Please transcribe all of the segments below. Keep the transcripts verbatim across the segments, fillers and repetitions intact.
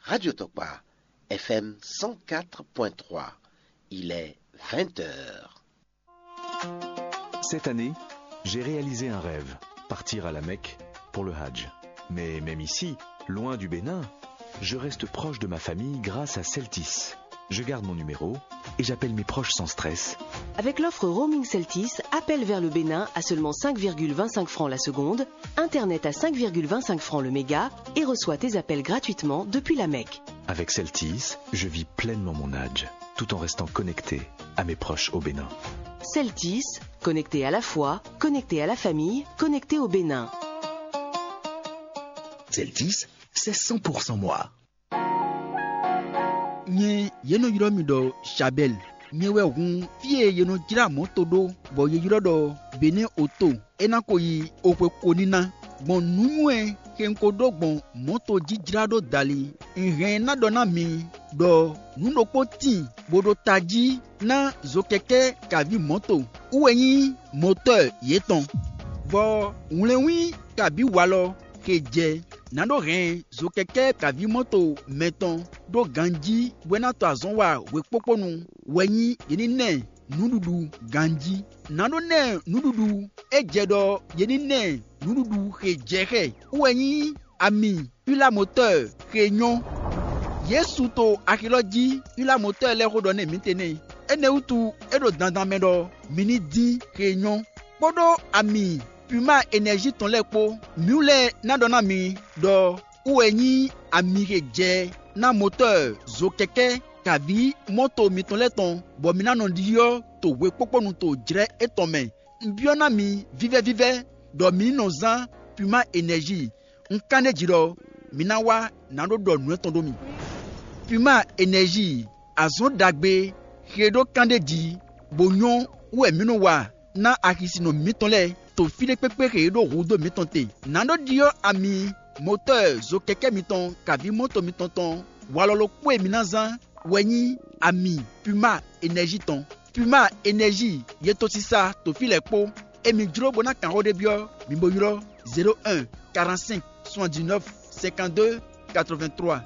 Radio Tokpa, F M cent quatre point trois. Il est vingt heures. Cette année, j'ai réalisé un rêve, partir à la Mecque pour le Hajj. Mais même ici, loin du Bénin, je reste proche de ma famille grâce à Celtis. Je garde mon numéro et j'appelle mes proches sans stress. Avec l'offre roaming Celtis, appel vers le Bénin à seulement cinq virgule vingt-cinq francs la seconde, internet à cinq virgule vingt-cinq francs le méga et reçois tes appels gratuitement depuis la Mecque. Avec Celtis, je vis pleinement mon Hajj, tout en restant connecté à mes proches au Bénin. Celtis, connecté à la foi, connecté à la famille, connecté au Bénin. Celtis, c'est cent pour cent moi. Nyɛ yě nɔ ylɔ́ mì ɖɔ Shabɛ́l. Nyɛ wɛ hun fí e yě nɔ jlá mɔ̌to ɖó, bɔ yě ylɔ́ ɖɔ Benɛ́ Oto. É ná ko yi oxwe ko ní ná. Gbɔn nǔnywɛ́ e un ko ɖó gbɔn mɔ̌to jí jlá ɖó dali, un hɛn ná ɖɔ ná mi ɖɔ nǔ ɖokpó tíin bó ɖo tají ná zokɛkɛ́ kaví mɔ̌to wú wɛ nyí mɔtɔ́ɔ yětɔn, bɔ wlɛnwín kabǐ walɔ xe jɛ nǎ ɖó hɛn zokɛkɛ́ kaví mɔ́to mɛtɔn ɖó ganjí bó ná to azɔn wa hwekpókpónu wɛ nyí yě ní ná ɛ nǔɖuɖu ganjí. Nǎ ɖó ná ɛ nǔɖuɖu é jɛ ɖɔ yě ní ná ɛ nǔɖuɖu xe jɛ xɛ wú wɛ nyí ami Pilamotɔ́ɔ xe nyɔ́. Yě su to axilɔ́ jí Pilamotɔ́ɔ lɛ́ɛ xó ɖɔ nú mǐtɛn nɛ́. Énɛ́ wútu é ɖo dandan mɛ ɖɔ mi ní dín xe nyɔ́, kpódó ami Puma Enɛ́zi tɔn lɛ́ɛ kpó. Mǐ lɛ́ɛ ná ɖɔ ná mi ɖɔ wú wɛ nyí ami xe jɛ ná motɔ́ɔ zokɛkɛ́ kaví mɔ́to mitɔn lɛ́ɛ tɔn, bɔ mi ná nɔ ɖyɔ́ to hwekpókpónu to jlɛ́ étɔn mɛ. Un byɔ́ ná mi vívɛ́vívɛ́ ɖɔ mi ní nɔ zán Puma Enɛ́zi. Un kán ɖ'é jí ɖɔ mi ná wá nǎ ɖó ɖɔ nǔ étɔn ɖó mi. Puma Enɛ́zi, azɔn ɖagbe xe ɖó kán ɖ'é jí, bó nyɔ́ wú wɛ mǐ nɔ wa ná axisinɔ mǐtɔn lɛ́ɛ to fí ɖé kpékpé xe e ɖó hudó mǐtɔn te. Nǎ ɖó ɖyɔ́ ami motɔ́ɔ zokɛkɛ́ mitɔn kaví mɔ́to mitɔn tɔn walɔ ɖokpó e mi ná zán wɛ nyí ami Puma Enɛ́zi tɔn. Puma Enɛ́zi, yetosisa to fí lɛ́ɛ kpó. Emi jló bó ná kan xó ɖé byɔ́, mi bo ylɔ́ zéro un, quarante-cinq, soixante-dix-neuf, cinquante-deux, quatre-vingt-trois.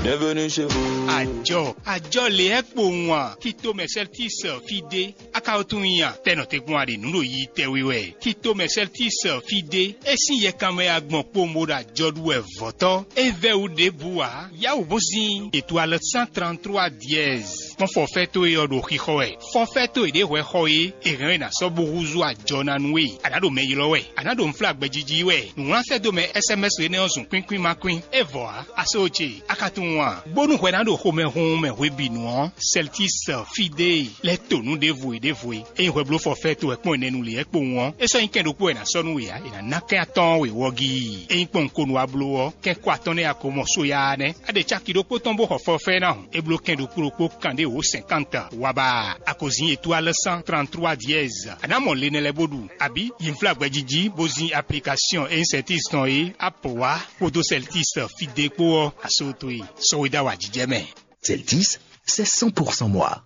Bienvenue chez vous. Àjọ, àjọ lě ɛ kpowun a? Tito Merceltis fide, a ka wo tunwun nyi a? Tɛnɔ te gbɔn a ɖe nǔ ɖo yi tɛwi wɛ. Tito Merceltis fide, é sín yɛkanmɛ a gbɔn kpowun bó ɖo àjɔ ɖu wɛ vɔ̌tɔ́. É vɛ́ wú ɖěbǔ ǎ. Yawǔ bó sín étoile cent trente-trois dièse. Kpɔ́n forfait towe ɔ́ ɖo xixɔ wɛ. Forfait towe ɖě hwɛ xɔ é, è hɛn ɔ́ è nǎ sɔ́ bó húzú ajɔ ná nú we. A nǎ ɖo mɛ ylɔ́ wɛ, a nǎ ɖo nǔflágbɛ́ jiji wɛ. Nǔwlán sɛ́ dó mɛ S M S énɛ́ ɔ́ zun kwínkwín ma kwín. É vɔ ǎ, a só ce, a ka tunwun a? Bónú hwɛ ná ɖo xomɛhunhun mɛ hwebǐnu ɔ́, Celtis fide lɛ́ to nǔ ɖěvo e ɖěvo e. Ényí hwɛ bló forfait towe kpɔ́n ɛnɛ nu lě ɛ kpowun ɔ́, é sɔ́ nyí kɛn ɖokpó wɛ è nǎ sɔ́ nú we ǎ, è nǎ ná kɛn atɔ́ɔ́n we wɔ́gíi. Ényí kpɔ́n un ko nu wá bló ɔ́, kɛ́n kó atɔ́ɔ́n nɛ́ a ko mɔ só yá nɛ́. A ɖe caki ɖokpó tɔn bó xɔ forfait ná hǔn, é bló kɛn ɖokpó ɖokpó kanɖé wǒ cinquante wá ba. A ko zin étoile cent trente-trois dièse. A nǎ mɔ le nɛ lɛ́ɛ bó ɖu, abǐ yi nflá gbɛjiji bó zin application e nyí Celtis tɔn é, apo wá kpódó Celtis fide kpó ɔ́, a só towe sɔ́ we dó awǎjijɛ mɛ. Celtis, c'est cent pour cent moi.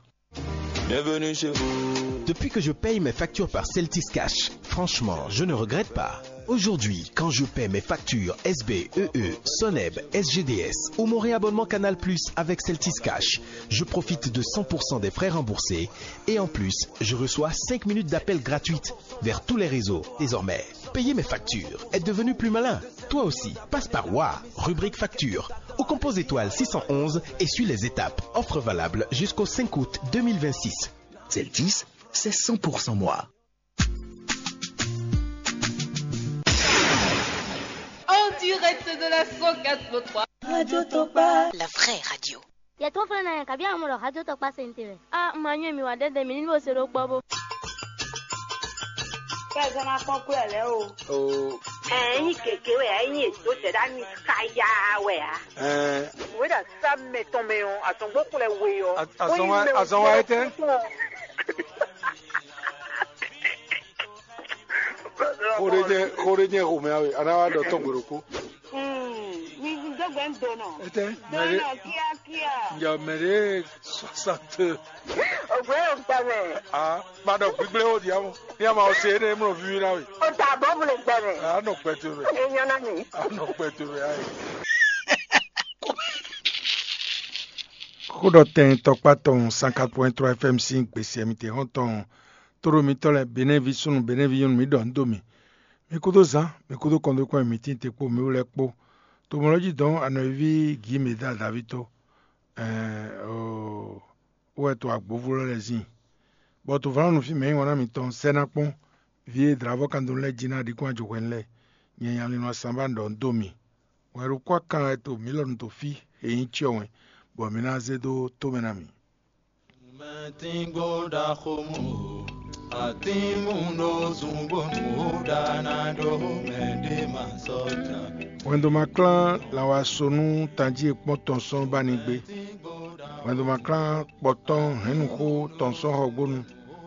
Bienvenue chez vous. Depuis que je paye mes factures par Celtis Cash, franchement, je ne regrette pas. Aujourd'hui, quand je paie mes factures S B, E E, Soneb, S G D S ou mon réabonnement Canal Plus avec Celtis Cash, je profite de cent pour cent des frais remboursés et en plus, je reçois cinq minutes d'appel gratuite vers tous les réseaux. Désormais, payer mes factures est devenu plus malin. Toi aussi, passe par Wa, rubrique facture, ou compose étoile six cent onze et suis les étapes. Offre valable jusqu'au cinq août deux mille vingt-six. Celtis, c'est cent pour cent moi. En direct de la cent quatre point trois. Radio Topa. La vraie radio. Yɛ tó fɛn na yɛ kabi amɔ lɔ hajɔ tɔ kpa sente wɛ. A ma nyɔ mi wa dɛdɛ mi ni bo se ɖo kpɔ bo. Kɛ zɔn ma kpɔn kú ɛ lɛ o. O. Ɛ nyi keke wɛ ɛ nyi eto tɛ ɖa nyi kaya wɛ a. Ɛ. Wɛ ɖa sa mɛ tɔn mɛ o, azɔn gbɔ kplɛ we o. Azɔn wa, azɔn wa etɛ. Xo ɖe jɛ, xo ɖe jɛ xomɛ awe, ana wa ɖɔ tɔn gbe ɖokpo. Mi dó gbe ń donɔ. Etɛ, mɛ ɖe. Donɔ kíákíá. Njɛ mɛ ɖe soixante. Gbɛmɛ. A ma ɖɔ gbígblé ó diamo. Ní a ma ɔ se énɛ́ mlɔ víví ná we. O ta bɔ mu le gbɛmɛ. A nɔ gbɛ towe mɛ. E nyɔ na mi. A nɔ gbɛ towe mɛ ayi. Xó ɖɔ tɛn tɔkpá tɔn cent quatre point trois F M sín gbèsè mi te hɔn tɔn. Tóɖo mitɔ́ lɛ́ɛ, Benɛ́vi súnnu, Benɛ́vi nyɔ́nu, mi ɖɔ nǔ dó mì. Mi kúdó zán, mi kúdó kɔndókpɔ́n e mǐ tín te kpó mi wú lɛ́ɛ kpó. To mɔ̌ lɛ́ɛ jí dɔn anɔ̌ví Gǐmeda Daví tó. Ɛɛ, oo, wɛ to agbǒvú lɛ́ɛ lɛ́ɛ zin. Bɔ to vlánú fí mɛ nyí wan ná mitɔn sɛ́ ná kpɔ́n, vǐ e dlǎvɔ́ kan dó lɛ́ɛ jí ná ɖi kún ajɔhwɛnu lɛ́ɛ, nyɛ nya lin nɔ sanbá ɖɔ nǔ dó mì. Wɛn ɖo kwá kan wɛ to mǐ lɔ nu to fí, e nyí cyɔ wɛn, bɔ mi ná zé dó tó mɛ ná mì. Mɛtíngbó ɖaxó mɔ, atínmú ɖó zungbónú ó ɖa ná ɖó mɛ ɖé ma sɔ́ jan. Wɛndo ma klán lanwasonú tanjí e kpɔ́n tɔn sɔ́ ba ní gbé. Wɛndo ma klán kpɔtɔ́n hɛ̌nnuxó tɔn sɔ́ xɔgbónu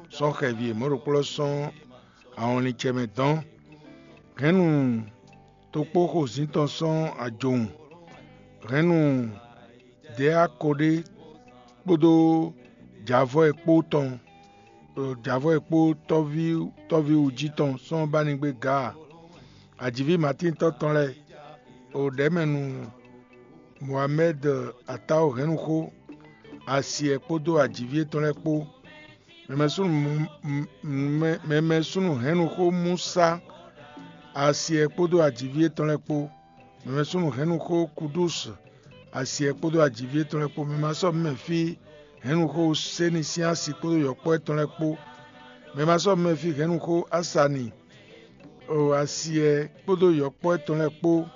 sɔ́ xɛvi e mɔ̌ ɖokpó lɔ sɔ́ ahɔnlin ce mɛ dɔn. Hɛ̌nnu tokpó xozǐn tɔn sɔ́ ajowun. Hɛ̌nnu Dɛ̌ akoɖé kpódó jǎvɔ́ e kpó tɔn, jǎvɔ́ e kpó tɔ́ví tɔ́ví wǔjí tɔn sɔ́ ba ní gbé Gaa. Ajǐví Matíntɔ́ tɔn lɛ́ɛ, o ɖɛ̌mɛnu Mohamɛ́d Atáo hɛ̌nnu xó, asi ɛ kpódó ajǐví étɔn lɛ́ɛ kpó. Mɛmɛsúnnu mɛmɛsúnnu hɛ̌nnu xó Musa, asi ɛ kpódó ajǐví étɔn lɛ́ɛ kpó. Mɛmɛsúnnu hɛ̌nnu xó Kudúsu, asi ɛ kpódó ajǐví étɔn lɛ́ɛ kpó. Mɛ ma sɔ́ mɛ fí hɛ̌nnu xó Seni sín asi kpódó yɔ̌kpɔ́ étɔn lɛ́ɛ kpó. Mɛ ma sɔ́ mɛ fí hɛ̌nnu xó Asani, o asi ɛ kpódó yɔ̌kpɔ́ étɔn lɛ́ɛ kpó.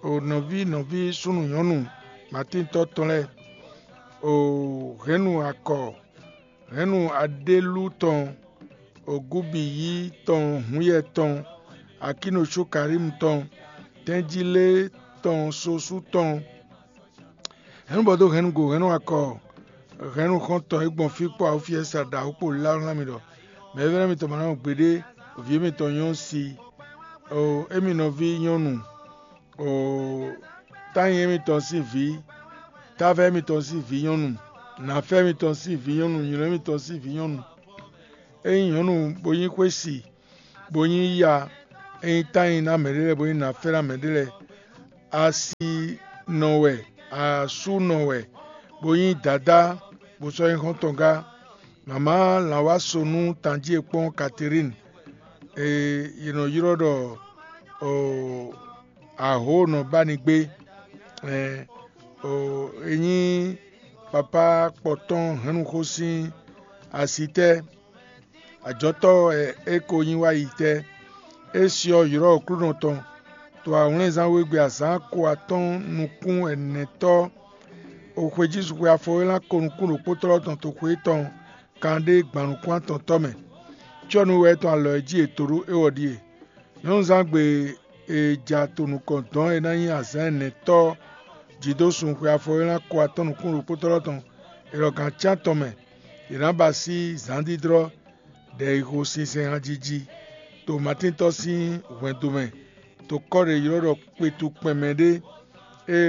O nɔví nɔví súnnu nyɔ̌nu Matíntɔ́ tɔn lɛ́ɛ, o hɛ̌nnu akɔ, hɛ̌nnu Aɖélú tɔn, Ogúbiyí tɔn, Hǔnyɛ tɔn, Akínocukarímu tɔn, Tɛ́njílé tɔn, Sosú tɔn, hɛ̌nnu bɔ dó hɛ̌nnu go, hɛ̌nnu akɔ, hɛ̌nnu xɔ́ntɔn e gbɔn fí kpó awúfiɛ́sa ɖaxó kpó lálá mì ɖɔ mɛ̌vɛ́ná mitɔn ma ná mɔ gbeɖé, vǐ mitɔn nyɔ́ si, o émi nɔví nyɔ́nu, o tányi émitɔn sín vǐ, tává émitɔn sín vǐ nyɔ́nu, nǎfɛ́ émitɔn sín vǐ nyɔ́nu, nylɔ́ émitɔn sín vǐ nyɔ́nu. É nyí nyɔ̌nu bó nyí xwési, bó nyí ya, é nyí tányi ná mɛɖé lɛ́ɛ, bó nyí nǎfɛ́ ná mɛɖé lɛ́ɛ, asi nɔ wɛ, asú nɔ wɛ, bó nyí dadá, bó sɔ́ nyí xɔ́ntɔn gá. Mama lǎnwáso nú tanjí e kpɔ́n Katerín, e è nɔ ylɔ́ ɖɔ Ahǒnɔ ba ni gbé. Ɛ, o, e nyí papá kpɔtɔ́n hɛ̌nnuxó sín asi tɛ́, ajɔ̌tɔ́ wɛ é ko nyí wá yi tɛ́. É syɔ ylɔ́ Aklúnɔ tɔn, to awlɛ́nzán wegbe azǎn ko atɔ́ɔ́n nukún ɛnɛtɔ́, o xwejízunxwe afɔwélán ko nukún ɖokpótlɔ́ tɔn toxo étɔn kanɖé gban nukún atɔntɔ́ mɛ. Cyɔ́nú wɛ é tɔn alɔ e jí è to ɖó é wɔ ɖíe. Nyɔ̌nuzán gbe e ja to nukɔn dɔ̌n é ná nyí azǎn ɛnɛtɔ́ jí dó sun xwe afɔwélán ko atɔ́ɔ́n nukún ɖokpótlɔ́ tɔn, è ɖɔ gǎn cyán tɔn mɛ, è nǎ ba sí zǎndídlɔ́ ɖɛ̌xixo sinsɛn hanjiji to Matíntɔ́ sín hwɛndo mɛ, to kɔ́ ɖě ylɔ́ ɖɔ kpetu kpɛnmɛ ɖé, é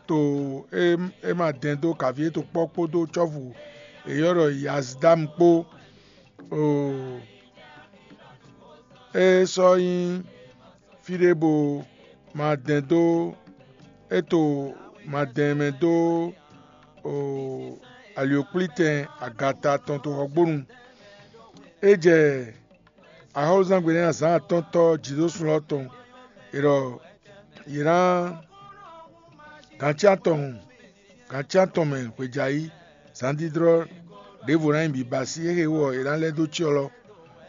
to é é ma dɛn dó kaví e to kpɔ́ kpódó cɔ́fu e ylɔ́ ɖɔ Yazdámu kpó. Oo, é sɔ́ nyí fí ɖé bo ma dɛn dó é to ma dɛn mɛ dó oo alyǒkplítɛn agata tɔn toxɔgbónu. É jɛ axɔ́lúzán gbe nɛ́ azǎn atɔ́ɔ́ntɔ́ jǐdósun ɔ́ tɔn, è ɖɔ yě ná gancyá tɔn hun, gancyá tɔn mɛ hwejǎyi zǎndídlɔ́ ɖěvo ná nyí bǐbasí. É hewú ɔ́, è nǎ lɛ́ dó cyɔ lɔ,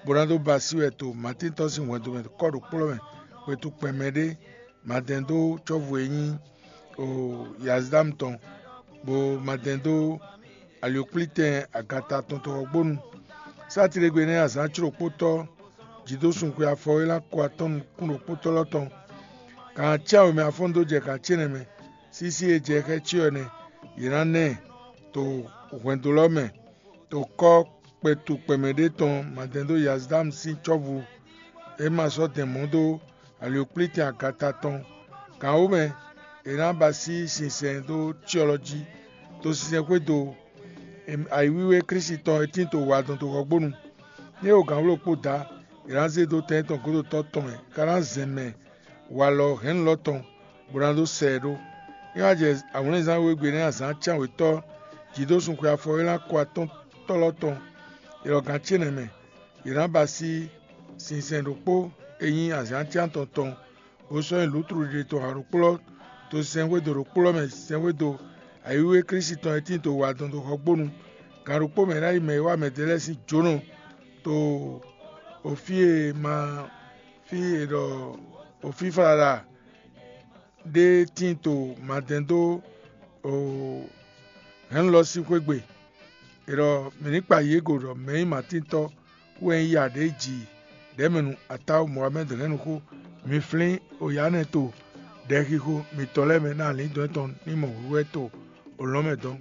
bó ná dó basí wɛ to Matíntɔ́ sín hwɛndo mɛ kɔ́ ɖo kplɔ́ mɛ, xwetu kpɛn mɛ ɖé, ma dɛn dó cɔ́fu e nyí Yazdámu tɔn, bó ma dɛn dó alyǒkplítɛn agata tɔn tɔn ɔ́ gbónu. Sátidegbe nɛ́ azǎn clokpótɔ́ jǐdósun xwe afɔ e ná kɔ atɔ́ nukún ɖokpótɔ́ lɔ tɔn. Gǎn acɛ́ wěmɛ afɔ́n dó jɛ gǎn ce nɛ́ mɛ. Sísí e jɛ xɛ́ cyɔ ɛnɛ, yě ná ná ɛ to hwɛndo lɔ mɛ, to kɔ́ kpɛtu kpɛmɛ ɖé tɔn ma dɛn dó Yazdámu sín cɔ́vu e ma sɔ́ dɛn mɔ̌ dó alyǒkplítɛn agata tɔn. Gǎn wǒ mɛ, è nǎ ba sí sinsɛn dó cyɔ lɔ jí, to sinsɛn xwédo ayǐwíwé Klísu tɔn e tín to wa dɔn dó xɔgbónu. Ní é ɖo gǎnwló kpó dǎ, è nǎ zé dó tɛn tɔn gódotɔ́ tɔn mɛ, ká ná zɛn mɛ walɔ hɛ̌nnulɔ́ tɔn, bó ná dó sɛ ɛ ɖó. É wá jɛ awlɛnzán wegbe nɛ́ azǎn cán wětɔ́ jǐdósun xwe afɔ e ná kɔ atɔ́ntɔ́lɔ́ tɔn. È ɖɔ gǎn ce nɛ́ mɛ, è nǎ ba sí sinsɛn ɖokpó e nyí azǎn cán tɔn tɔn, bó sɔ́ nyi lǔtlu ɖiɖe tɔn ha ɖokplɔ́ dó sɛnxwédo ɖokplɔ́ mɛ sɛnxwédo ayǐwíwé Klísu tɔn e tín dó wa dɔn dó xɔgbónu. Gan ɖokpó mɛ ná yi mɛ e wá mɛdɛɛ lɛ́ɛ sín jǒnɔ to ofí e ma fí è ɖɔ ofíflala ɖé tíin to madɛn dó hɛ̌nnu lɔ sín xwé gbe. È ɖɔ mǐ ní kpa yě go ɖɔ mɛ̌ nyí Matíntɔ́ wú wɛ nyí ya ɖě ji ɖɛ̌mɛnu Atáwu Mɔhamɛ́d hɛ̌nnu xó. Mi flín oyǎnɛ to ɖɛxixo mitɔn lɛ́ɛ mɛ ná alǐndɔn tɔn ní mɔ hwíhwɛ́ to olɔ̌n mɛ dɔn.